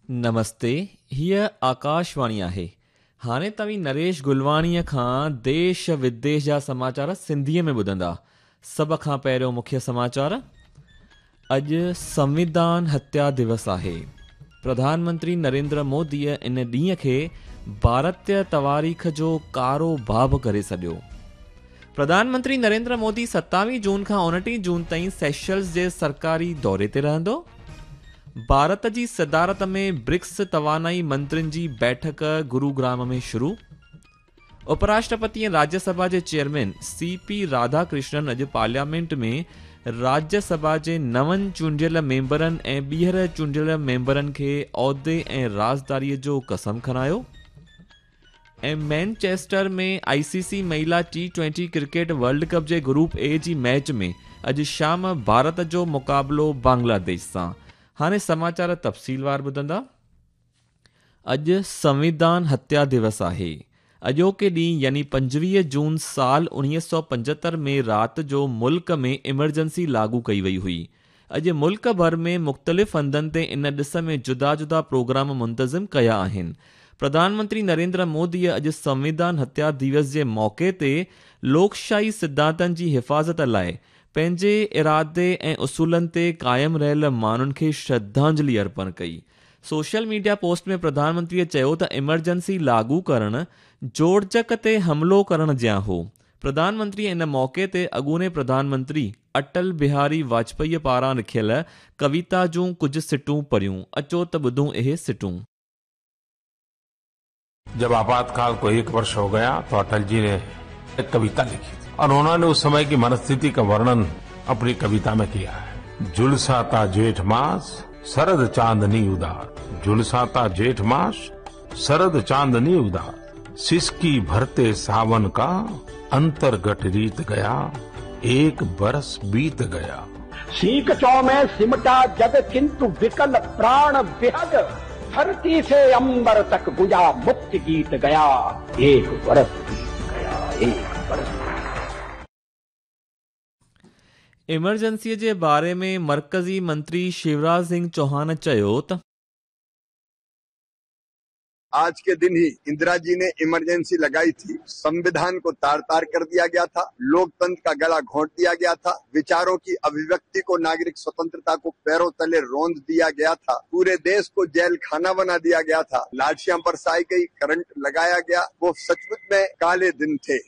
نمستي، هيء آڪاشواڻي آهي. هاڻي توهين نريش گلواڻيء کان ديش وديش جا سماچار سنڌيء ۾ ٻڌندا. سڀ کان پهريون مکيه سماچار. اڄ سنوڌان هتيا دوس آهي. پرڌان منتري نريندر موديء ان ڏينهن کي ڀارتيه تواريخ جو ڪارو باب ڪري سڏيو. پرڌان منتري نريندر مودي 27 جون کان 29 جون تائين سيشلز جي سرڪاري دوري تي رهندو. ڀارت جي صدارت ۾ برڪس توانائي منترين جي بيٺڪ گروگرام ۾ شروع. اپراشٽرپتي ۽ راجيه سڀا جي chairman C P Radha Krishnan اڄ پارليامينٽ ۾ راجيه سڀا جي نون چونڊيل ميمبرن ۽ ٻيهر چونڊيل ميمبرن کي عهدي ۽ رازداري جو قسم کڻايو. ۽ مينچيسٽر ۾ I سي سي مهلا T twenty cricket world cup جي گروپ اي جي ميچ ۾ اڄ شام ڀارت جو مقابلو بنگلاديش سان. هاڻي سماچار تفصيلوار ٻڌندا. اڄ سنوڌان هتيا دوس آهي. اڄوڪي ڏينهن يعني 25 جون سال 1975 ۾ رات جو ملڪ ۾ ايمرجنسي لاڳو ڪئي وئي هئي. اڄ ملڪ ڀر ۾ مختلف هنڌن تي ان ڏس ۾ جدا جدا پروگرام منتظم ڪيا آهن. پرڌان منتري نريندر موديء اڄ سنوڌان هتيا دوس جي موقعي تي لوڪشاهي سڌانتن جي حفاظت لاء پنهنجي ارادي ۽ اصولن تي قائم رهيل ماڻهن کي شرڌانجلي ارپڻ ڪئي. سوشل ميڊيا پوسٽ ۾ پرڌان منتريء چيو ته ايمرجنسي لاڳو ڪرڻ جوڙجڪ تي حملو ڪرڻ جيان هو. پرڌان منتريء ان موقعي تي اڳوڻي پرڌان منتري اٽل بهاري واجپائيء پاران لکيل ڪويتا جون ڪجهه سٽون پڙهيون. اچو ته ٻڌون اهي سٽون. जब आपातकाल को एक वर्ष हो गया तो अटल जी ने एक कविता लिखी थी और उन्होंने उस समय की मनस्थिति का वर्णन अपनी कविता में किया है। झुलसाता जेठ मास शरद चांदनी उदार, झुलसाता जेठ मास शरद चांदनी उदार, सिसकी भरते सावन का अंतर्घट रीत गया, एक बरस बीत गया। सीख चौ में सिमटा जग किंतु विकल प्राण विहग, धरती से अंबर तक गुजा मुक्ति गीत गया, एक बरस बीत गया, एक बरस। इमरजेंसीअ जे बारे में मर्कज़ी मंत्री शिवराज सिंह चौहान चयो त आज के दिन ही इंदिरा जी ने इमरजेंसी लगाई थी। संविधान को तार तार कर दिया गया था, लोकतंत्र का गला घोंट दिया गया था, विचारों की अभिव्यक्ति को, नागरिक स्वतंत्रता को पैरों तले रौंद दिया गया था, पूरे देश को जेल खाना बना दिया गया था, लाठियां बरसाई गई, करंट लगाया गया। वो सचमुच में काले दिन थे।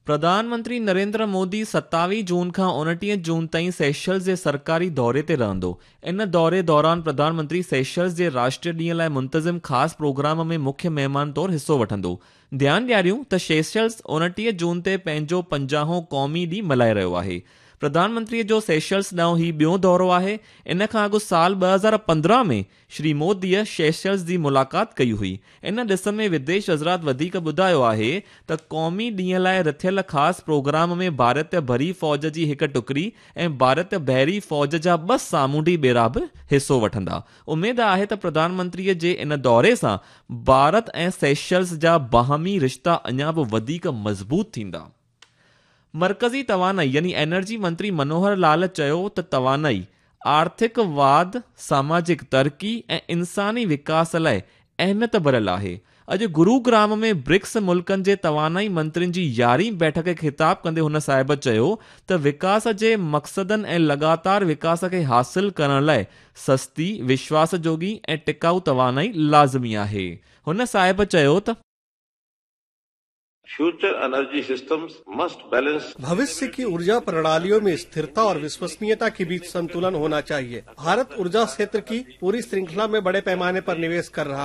प्रधान मंत्री नरेंद्र मोदी 27 जून खां 29 जून ताईं सेशल्स जे सरकारी दौरे ते रहंदो। इन दौरे दौरान प्रधान मंत्री सेशल्स जे राष्ट्रीय ॾींहं लाइ मुंतज़िम ख़ासि प्रोग्राम में मुख्य महिमान तौर हिसो वठंदो। ध्यानु ॾियारियूं त सेशल्स 29 जून ते पंहिंजो 50हों क़ौमी ॾींहुं मल्हाए रहियो आहे। प्रधान मंत्रीअ जो सेशल्स ॾांहुं हीउ ॿियो दौरो आहे। इन खां अॻु साल 2015 में श्री मोदीअ सेशल्स जी मुलाक़ात कई हुई। इन ॾिस में विदेश वज़ारत वधीक ॿुधायो आहे त क़ौमी ॾींहं लाइ रथियल ख़ासि प्रोग्राम में भारतीय बरी फ़ौज जी हिकु टुकड़ी ऐं भारतीय बहरी फ़ौज जा 2 सामुंडी ॿेड़ा बि हिसो वठंदा। उमेद आहे त प्रधानमंत्रीअ जे इन दौरे सां भारत ऐं सेशल्स जा बाहमी रिश्ता अञा बि वधीक मज़बूत थींदा। मर्कज़ी तवानाई यानी एनर्जी मंत्री मनोहर लाल चयो त तवानाई आर्थिक वाध, सामाजिक तरक़ी ऐं इंसानी विकास लाइ अहमियत भरियल आहे। अॼु गुरुग्राम में ब्रिक्स मुल्कनि जे तवानाई मंत्रियुनि जी 11वीं बैठक खे ख़िताब कंदे हुन साहिब चयो त विकास जे मक़सदनि ऐं लगातार विकास खे हासिल करण लाइ सस्ती, विश्वास जोगी ऐं टिकाऊ तवानाई लाज़मी आहे। हुन साहिब चयो त future energy systems must balance. भविष्य की ऊर्जा प्रणालियों में स्थिरता और विश्वसनीयता के बीच संतुलन होना चाहिए। भारत ऊर्जा क्षेत्र की पूरी श्रृंखला में बड़े पैमाने पर निवेश कर रहा है।